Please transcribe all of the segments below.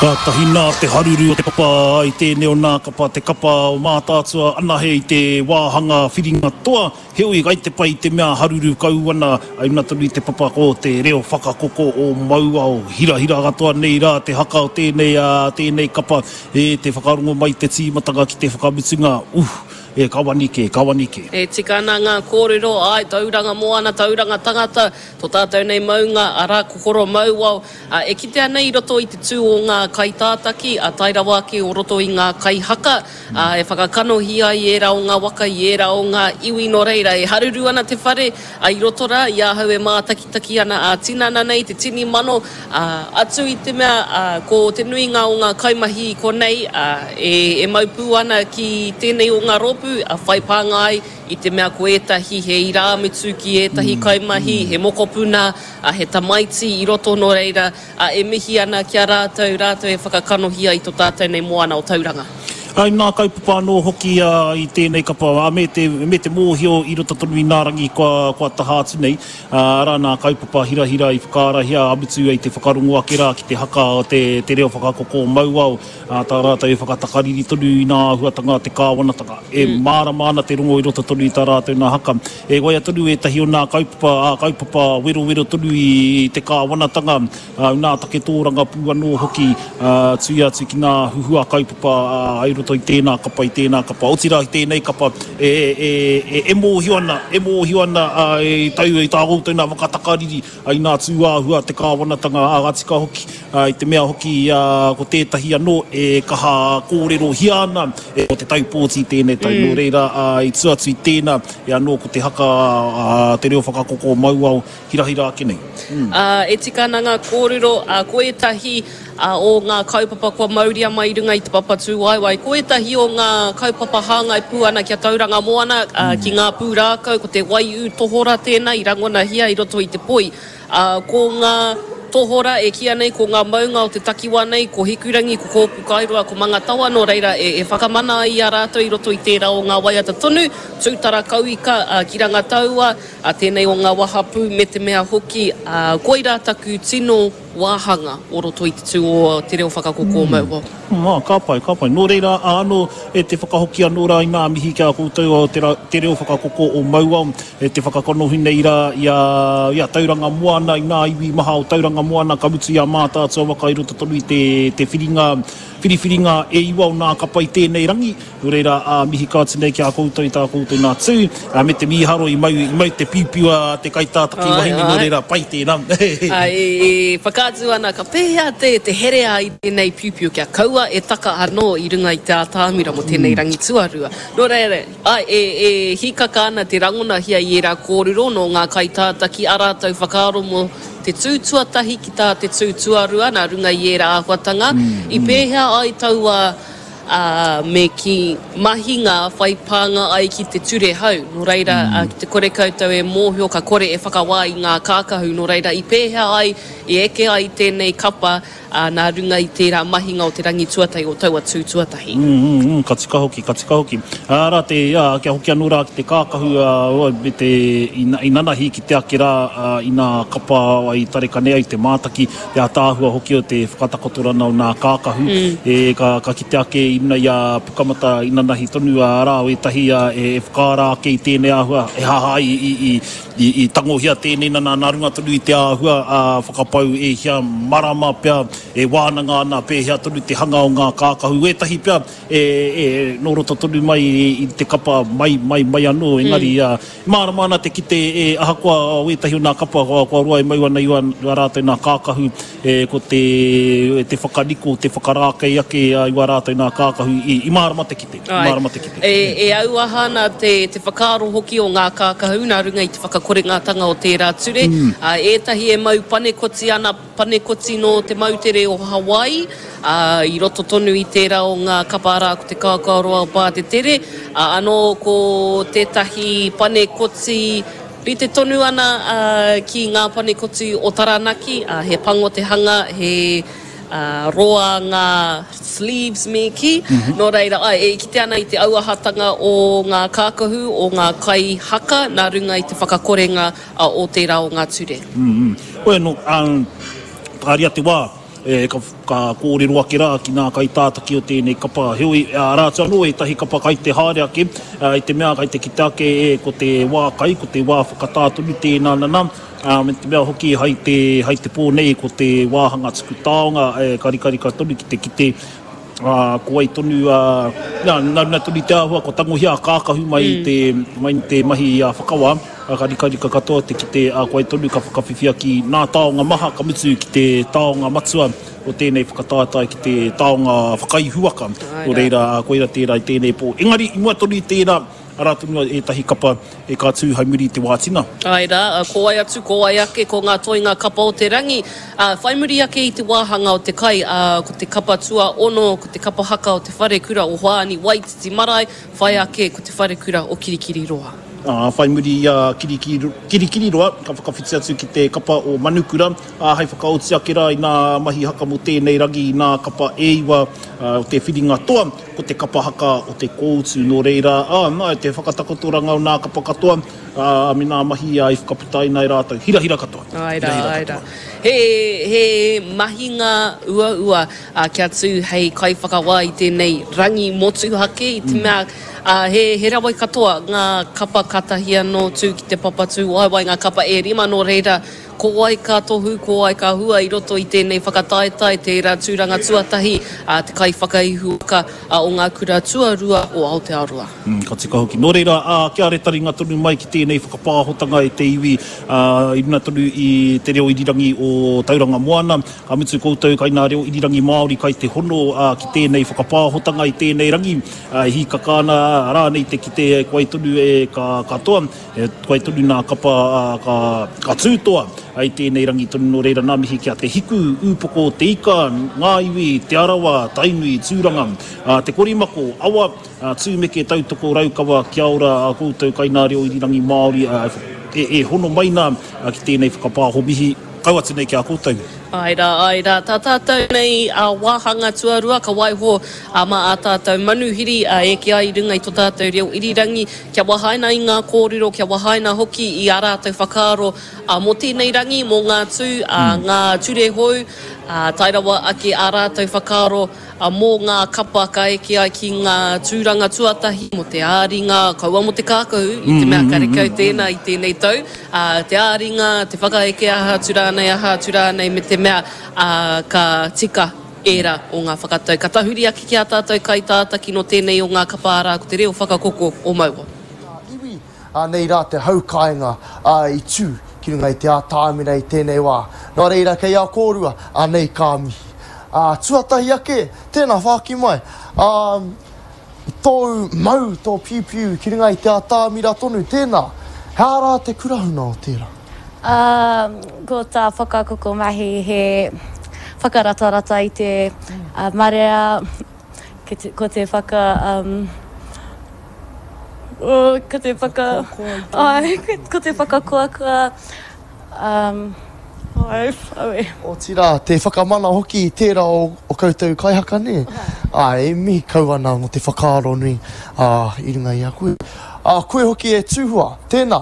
Kātahi nā te haruru o te papa i tēnei o nā kapa te kapa o Mātaatua anahe i te wāhanga whiringa toa, heoi kai te pai te mea haruru kau ana ai runga tonu i te papa ko te reo whakakoko o Mauao. Hirahira katoa nei rā te haka o tēnei ā tēnei kapa e te whakarongo mai te tīmatanga ki te whakamutunga, uh! E ka wani kē, ka wani kē. E tika ana ngā kōrero, āe, tauranga moana, tauranga tangata, tō tātou nei maunga, arā, ko Koromauao, ā, e kitea nei i roto i te tū o ngā kaitātaki, ā, tae rawa ake o roto i ngā kaihaka, ā, e whakakanohi ai ērā o ngā waka i ērā o ngā iwi, nō reira, e haruru ana te whare, ā, i roto rā, i ahau e mātakitaki ana ā-tinana nei te tini mano, ā, atu i te mea, ā, ko te nuinga o ngā kaimahi i konei, ā, e, e mau pū ana ki tēnei o ngā rōpū, ā, whai pānga ai i te mea ko ētahi he irāmutu ki ētahi kaimahi, he mokopuna, ā, he tamaiti i roto, nō reira, ā, e mihi ana ki a rātou, rātou e whakakanohi ai i tō tātou nei moana o Tauranga. Ā, i ngā kaupapa anō hoki i tēnei kapa, ā, me te, me te mōhio i roto tonu i ngā rangi kua, kua taha atu nei, ā, arā nā kaupapa hirahira i whakaarahia ā mutu ai te whakarongo ake rā ki te haka o te, te reo whakakoko o Mauao, ā, tā rātou e whakatakariri tonu i ngā āhuatanga a te kāwanatanga. E mārama ana te rongo i roto tonu i tā rātou nā haka. E waia tonu ētahi o nā kaupapa, ā, kaupapa werowero tonu i te kāwanatanga, ā, nā take tōrangapū anō hoki, ā, tuia atu ki nā huhua kaupapa, ā, i roto i tēnā kapa, i tēnā kapa. Otirā i tēnei kapa, e, e, e, e mōhio ana, e mōhio ana, ā, i tau, i tā koutou nā whakatakariri, I ngā tūāhua a te kāwanatanga ā-tika hoki, i te mea hoki ko tētahi anō e kaha kōrerohia ana ko te tau pōti tēnei tau. Nō reira, i tua atu i tēnā, e anō ko te haka a te reo whakakoko o Mauao hirahira ake nei. E tika ana ngā kōrero, ko ētahi o ngā kaupapa kua mauria mai i runga i te papa tūwaewae. Ko ētahi o ngā kaupapa hāngai pū ana ki a Tauranga Moana, ki ngā pūrākau, ko te waiū tohora tēnā i rangonahia i roto i te poi. Ko ngā tohora e kīia nei ko ngā maunga o te takiwā nei, ko Hikurangi, ko Kōpukairoa, ko Mangatawa, nō reira e whakamana ai i a rātou i roto i tērā o ngā waiata tonu, Tūtara Kauika, ki Rangataua, tēnei o ngā wahapū me te mea hoki, koirā taku tino wāhanga o roto i te tū o te reo whakakoko o Mauao. Ā, ka pai, ka pai. Nō reira, ā, anō, e te whakahoki anō rā i ngā mihi ki a koutou o te, te reo whakakoko o Mauao, e te whakakanohi nei rā i a, i a Tauranga Moana, i ngā iwi maha o Tauranga Moana, ka mutu i a Mātaatua waka i roto tonu i te, te whiringa, whiriwhiringa e iwa o nā kapa i tēnei rangi. Nō reira, ā, mihi kau atu nei ki a koutou i tā koutou nā tū, ā, me te mīharo i mau, i mau te piupiu a te kaitātaki wahine, nō reira, pai tēnā. Ā, e, e whakaatu ana ka pēhea te, te herea i tēnei piupiu kia kaua e taka anō i runga i te ātamira mō tēnei rangi tuarua. Nō reira, āe, e, e hīkaka ana te rangonahia i ērā kōrero nō ngā kaitātaki ā rātou whakaaro mō te tū tuatahi ki tā te tū tuarua nā runga i ērā āhuatanga. I pēhea ai taua ā, me kī, mahinga whai pānga ai ki te ture hou. Nō reira, ki te kore koutou e mōhio, ka kore e whakawā i ngā kākahu. Nō reira, i pēhea ai, i eke ai tēnei kapa, ā, nā runga i tērā mahinga o te rangi tuatahi, o taua tū tuatahi. Mm, ka tika hoki, ka tika hoki. Ā, rā te, ā, kia hoki anō rā ki te kākahu, ā, me te, i, i nanahi ki te ake rā, ā, inā kapa ai tarekane ai te mātaki, te ātaahua hoki o te whakatakotorana o nā kākahu, e, ka, ka kite ake i runga i a Pukamata inanahi tonu, ā, arā o ētahi, ā, e, e whakaara ake i tēnei āhua, e haha ai i, i, i, i tangohia tēnei nana nā runga tonu i te āhua, ā, whakapau e hia marama pea, e wānanga ana pēhea tonu te hanga o ngā kākahu, ētahi pea, e, e, nō roto tonu mai i, i te kapa mai, mai, mai anō, engari, ā, Mārama ana te kite e ahakoa o ētahi o nā kapa kua roa e mau ana i a rātou nā kākahu, e, ko te, te whakaniko, te whakarākei ake i wā rātou nā kākahu i, i mārama te kite, i mārama te kite. E, e auaha ana te, te whakaaro hoki o ngā kākahu nā runga i te whakakorengatanga o tērā ture. Ā, ētahi e mau panekoti ana, Panekoti nō te moutere o Hawaii, ā, i roto tonu i tērā o ngā kapa arā ko te Kaokaoroa o Pātetere, ā, anō ko tētahi panekoti rite tonu ana ki ngā panekoti o Taranaki, ā, he pango te hanga, he roa ngā sleeves me kī, nō reira, āe, e kite ana i te auahatanga o ngā kākahu, o ngā kai haka nā runga i te whakakorenga o tērā o ngā ture. Hoi anō, ā, tāria te wā, E, ka, ka kōrero ake rā ki ngā kaitātaki o tēnei kapa. Heoi, arā atu anō ētahi kapa kai te haere ake, i te mea kai te kite ake e, ko te wā kai, ko te wā whakatā tonu tēnā nana, ā, me te mea hoki hai te, hai te pō nei ko te wāhanga tuku taonga e ka rikarika tonu ki te kite, ā, ko wai tonu, ā, nā, nā runga tonu i te āhua kua tangohia a kākahu mai i te, mai i te mahi a whakawā. Ka rikarika katoa te kite a koe tonu ka whakawhiwhia ki nā taonga maha ka mutu ki te taonga matua o tēnei whakataetae ki te taonga whakaihuwaka. Nō reira, koira tērā i tēnei pō. Engari, i mua tonu i tērā, arā tonu ētahi kapa e ka tū hai muri i te wā tina. Āe rā, ko wai atu, ko wai ake, ko ngā toenga kapa o te rangi. Ā, whai muri ake i te wāhanga o te kai, ā, ko te kapa tuaono, ko te kapa haka o te wharekura o Hoani Waititi Marae, whai ake ko te wharekura o Kirikiriroa. Ā, whai muri i a Kirikiriroa, ka whakawhiti atu ki te kapa o Manukura, ā, hei whakaoti ake rā i nā mahi haka mō tēnei rangi i nā kapa e iwa o te whiringa toa, ko te kapa haka o te kōutu. Nō reira, ā, nā, te whakatakotoranga o nā kapa katoa, ā, me nā mahi i whakaputaina e rātou. Hirahira katoa. Āe rā, āe rā. He, he mahinga uaua, ā, kia tū hei kaiwhakawā i tēnei rangi motuhake i te mea, ā, he, he rawe katoa ngā kapa kātahi anō tū ki te papa tūwaewae, ngā kapa e rima, nō reira, ko wai ka tohu, ko wai ka hua i roto i tēnei whakataetae, tērā tūranga tuatahi, ā, te kaiwhakaihuwaka o ngā kura tuarua o Aotearoa. Ka tika hoki. Nō reira, ā, kia retaringa tonu mai ki tēnei whakapāhotanga e te iwi, ā, i runga tonu i te reo irirangi o Tauranga Moana, Ka mutu koutou kai nā reo irirangi Māori kai te hono ki tēnei whakapāhotanga i tēnei rangi, e hīkaka ana rānei te kite e koe tonu e ka katoa, e koe tonu nā kapa ka, ka tū toa i tēnei rangi tonu nō reira nā mihi ki a Te Hiku, Ūpoko o Te Ika, Ngā Iwi, Te Arawa, Tainui, Tūranga, Te Korimako, Awa, Tūmeke, Tautoko, Raukawa, kia ora koutou kai nā reo irirangi Māori e hono mai nā ki tēnei whakapāho mihi. Kau atu nei ki a koutou. Āe rā, āe rā, tā tātou nei wāhanga tuarua ka waiho mā ā tātou manuhiri e eke ai i runga i tō tātou reo irirangi, kia wahaina i ngā kōrero, kia wahaina hoki i ā rātou whakaaro mō tēnei rangi, mō ngā tū, ngā ture hou, tae rawa ake ā rātou whakaaro. Mō ngā kapa ka eke ai ki ngā tūranga tuatahi mō te ā-ringa, kaua mō te kākahu, i te mea karekau tēnā i tēnei tau, ā, te ā-ringa, te whakaeke aha atu rānei, aha atu rānei, me te mea, ā, ka tika ērā o ngā whakatau. Ka tahuri ake ki ā tātou kaitātaki nō tēnei o ngā kapa arā ko te reo whakakoko o Maua. Ngā iwi Anei rā te hau kāinga, ā, i tū ki runga i te ātamira i tēnei wā. Nō reira, kei a kōrua, anei ka mihi. Ā, tuatahi ake, tēnā whāki mai, ā, i tōu mau, tō piupiu ki runga i te ātamira tonu, tēnā, he aha rā te kurahuna o tērā? Ā, ko tā Whakakoko mahi he whakaratarata i te marea, ko te whaka, Oh, ko te whaka... Ai, ko te whakakoakoa, um, ai, aue. Otirā, te whakamana hoki i tērā o, o koutou kaihaka, nē? Āe, e mihi kau ana mō te whakaaro nui, ā, i runga i a koe. Ā, koe hoki e Tūhua, tēnā.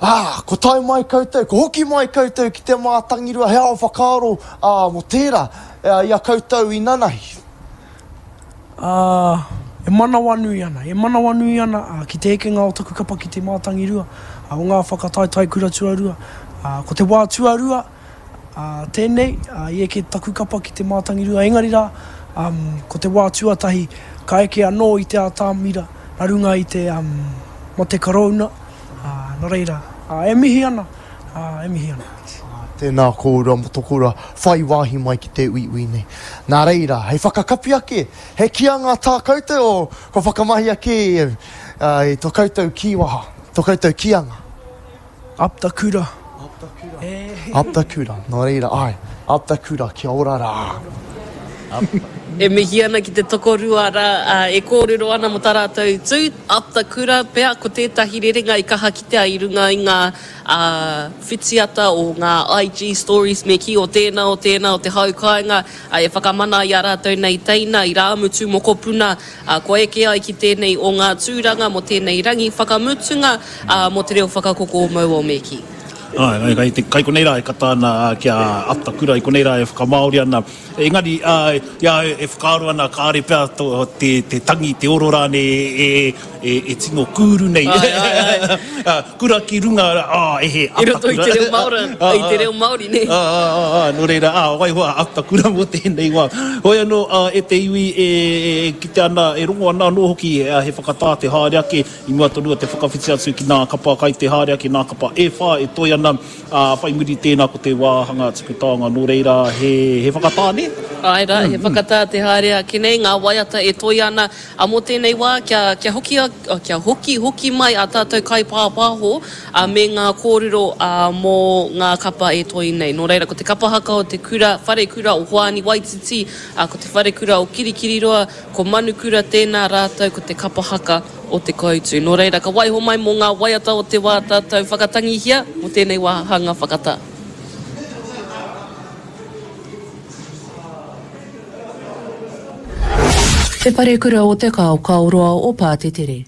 Ā, ko tae mai koutou, ko hoki mai koutou ki te mātangirua, he ao whakaaro, ā, mō tērā, i a koutou i nanahi. Ā, e manawanui ana, e manawanui ana, ā, ki te ekenga o taku kapa ki te mātangirua, ā, o ngā whakataetae kura tuarua, ā, ko te wā tuarua, ā, tēnei, ā, i eke taku kapa ki te mātangirua, engari rā, ā, ko te wā tuatahi, ka eke anō i te ātamira, nā runga i te, ā, mate korouna, ā, nō reira, ā, e mihi ana, ā, e mihi ana. Tēnā kōrua mō tō kōrua whai wāhi mai ki te uiui nei. Nā reira, hei whakakapi ake, he kīanga tā koutou o kua whakamahia kē e au i tō koutou kīwaha, tō koutou kīanga? Up the kura. Up the kura. Up the kura. Nō reira, āe, up the kura, kia ora rā. E mihi ana ki te tokorua rā e kōrero ana mō tā rātou tū, up the kura pea, ko tētahi rerenga i kaha kitea i runga i ngā whitiata o ngā IG stories me kī o tēnā o tēnā o te hau kāinga e whakamana i a rātou nei teina, irāmutu, mokopuna, kua eke ai ki tēnei o ngā tūranga mō tēnei rangi whakamutunga mō te reo whakakoko o Maua o Me Kī. Āe, kai te, kai konei rā e kata ana ki a Atakura, i konei rā e whakamāori ana. Engari, āe, i a au e whakaaro ana kāore pea tō, te, te tangi, te oro rānei e, e, e, e tino kūru nei. Āe, āe, āe. Ā, kura ki runga, ā, e he I roto i te reo Māori, i te reo Māori, nē? Ā, ā, ā, ā, nō reira, ā, waiho a Atakura mō tēnei wā. Hoi anō, ā, e te iwi e, e, e kite ana, e rongo ana anō hoki, he whakatā te haere ake, I mua tonu o te whakawhiti atu ki nā kapa kai te haere ake nā kapa e whā e toe ana, ā, whai muri tēnā ko te wāhanga tuku taonga nō reira he, he whakatā nē? Āe rā, he whakatā te haere ake nei, ngā waiata e toe ana, ā, mō tēnei wā kia, kia hoki, kia hoki hoki mai ā tātou kaipāpāho, ā, me ngā kōrero, ā, mō ngā kapa e toe nei. Nō reira, ko te kapa haka o te kura, wharekura o Hoani Waititi, ā, ko te wharekura o Kirikiriroa, Ko Manukura tēnā rātou ko te kapa haka o Te Koutu. Nō reira, ka waiho mai mō ngā waiata o te wā tātou whakatangihia mō tēnei wāhanga whakatā. Te Wharekura o Te Kaokaoroa o Pātetere.